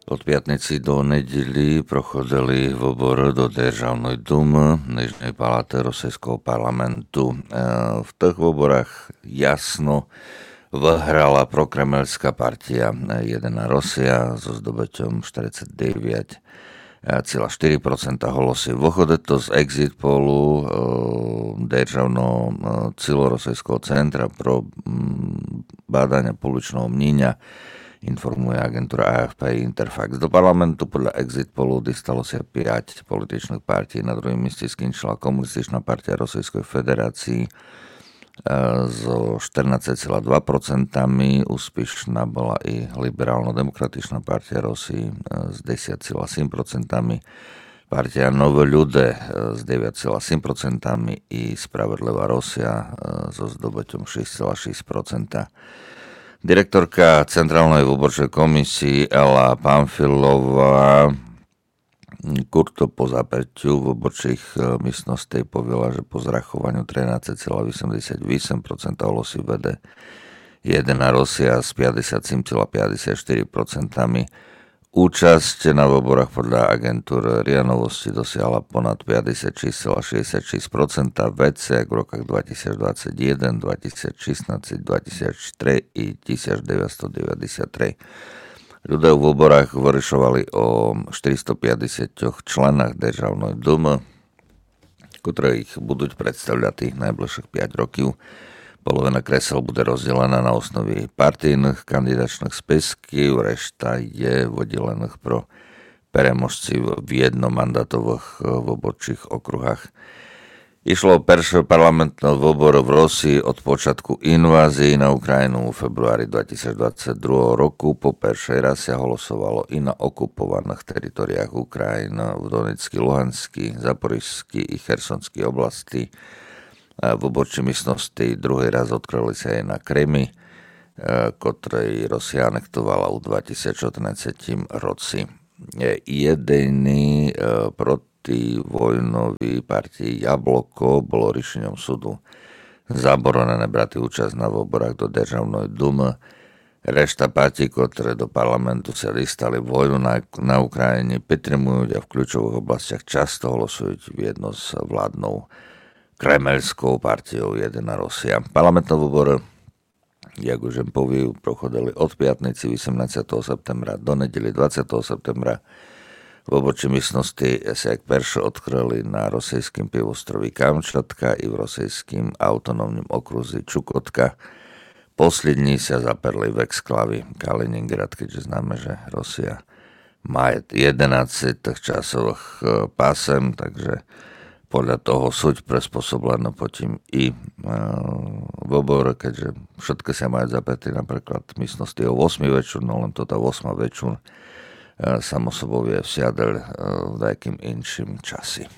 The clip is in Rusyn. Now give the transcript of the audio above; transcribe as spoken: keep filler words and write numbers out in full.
Од пятниці до недїлї проходили выборы до Державной думы, нижньой палаты російского парламенту. Е, в тых выборах ясно выграла прокремельска партія, е, Єдина Росія зо здобытьом штерицет девять ціла штири процента голосів. Выходит то з екзит полу, е, Державного, е, цілоросійского центра про, м, баданя публічного мнїня, інформує агентура А Ф П і Інтерфакс. До парламенту подля екзит полу дістало ся пять політичных партій. На другім місцї скінчила Комуністична партія Російской Федерації, е, зо штернадцет ціла два процентами. Успішна была і Ліберално-демократична партія Росії, е, з десять ціла сім процентами. Партія Нові люде, е, з девять ціла сім процентами і Справедлива Росія, е, зо здобытьом шість ціла шість процента. Директорка Централної выборчої комісії Елла Памфілова, м, курто по запертю выборчих, е, місностей повіла, же по зрахованю тринадцет ціла вісемдесят вісем процента голосів веде Єдина Росія з пятдесят сім ціла пятдесят штири процентами. Учасць на выборах подля агентуры РИА Новости досягла понад пятдесят шість ціла шістдесят шість процента, веце як в роках два тисяч двадцет єден, два тисяч шістнадцет, два тисяч три і тисяч девятсто девятдесят три. Люде у выборах вырішовали о штиристо пятдесятьох членах Державної думы, котры їх будуть представляти найближшых пять років. Половина кресел буде розділена на основі партійных кандидачных списків, решта є выділеных про переможців в єдномандатовых, е, выборчих округах. Ішло о першый парламентный выбор в Росії од початку інвазії на Україну у фебруарі два тисяч двадцет другого року. По першый раз ся голосовало і на окупованых територіях Україны, в Донецькій, Луганській, Запорізькій і Херсонській области. Е, выборчі місности другый раз одкрыли ся і на Кримі, е, котрый Росія анектовала у два тисяч одинадцятім році. Е, єдині, е, противойнові партії Яблоко было рішеньом суду заборонене брати учасць на выборах до Державної думы. Решта партій, котры до парламенту ся дістали войну на, на Україні, підтримують а в ключовых областях часто голосують вєдно з владнов кремельськов партійов Єдина Росія. Парламентны выборы, як уж єм повів, проходили од пятниці вісемнадцятого септембра до недїлї двадцятого септембра. Выборчі місности ся як перші одкрыли на російскім півострові Камчатка і в російскім автономнім окрузі Чукотка. Послїдні ся заперли в ексклаві Калинінград, кедьже знаме, же Росія має єденадцет тых часовых, е, пасем, так же подля того суть приспособлены потім і, е, выборы, кедьже вшыткы ся мають заперти, наприклад, місности о восьмій вечур, но лем тота восма вечур, е, само собов є всядель, е, в даякім іншім часі.